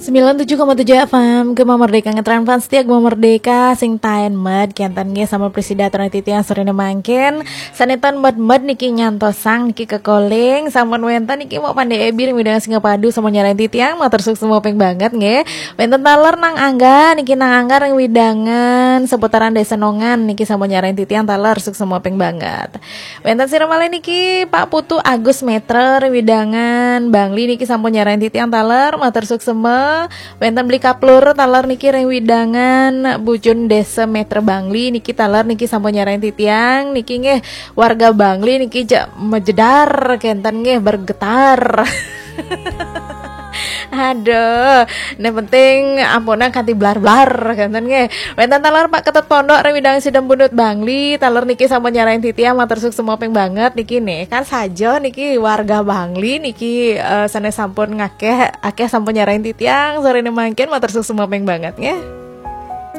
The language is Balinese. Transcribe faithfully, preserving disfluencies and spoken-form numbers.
Sembilan tujuh koma tujuh F M, Gema Merdeka, ngetren fans setia Gema Merdeka, sing taen med, kenten nggih sama presida titiang sorene mangkin, sanetan med-med niki nyantosang niki kekoling, sampun wenten niki mau pandai ebir, widang sing padu sama nyarain titiang, matur suksma ping banget nggih. Wenten taler Nang Angga, niki Nang Angga ring widangan seputaran Desa Nongan, niki sampun nyarain titiang taler suksma ping banget. Wenten sira malih niki Pak Putu Agus Metra ring widangan Bangli niki sampun nyarain titiang taler, matur suksma. Wenten Beli Kaplur taler niki ring widangan Bujun Desa Metra Bangli niki taler niki sampun nyarain titiang niki nggih warga Bangli niki jak mejedar kenten nggih bergetar. Aduh, yang penting ampunang kanti blar-blar kenten nggih. Wenten taler Pak Ketut Pondok ring widang Sidembunut Bangli, taler niki sampun nyarain titiang, matur suksma ping banget niki nih. Kan saja niki warga Bangli niki eh, sanes sampun ngakeh akeh sampun nyarain titiang sorene mangkin, matur suksma ping banget nggih.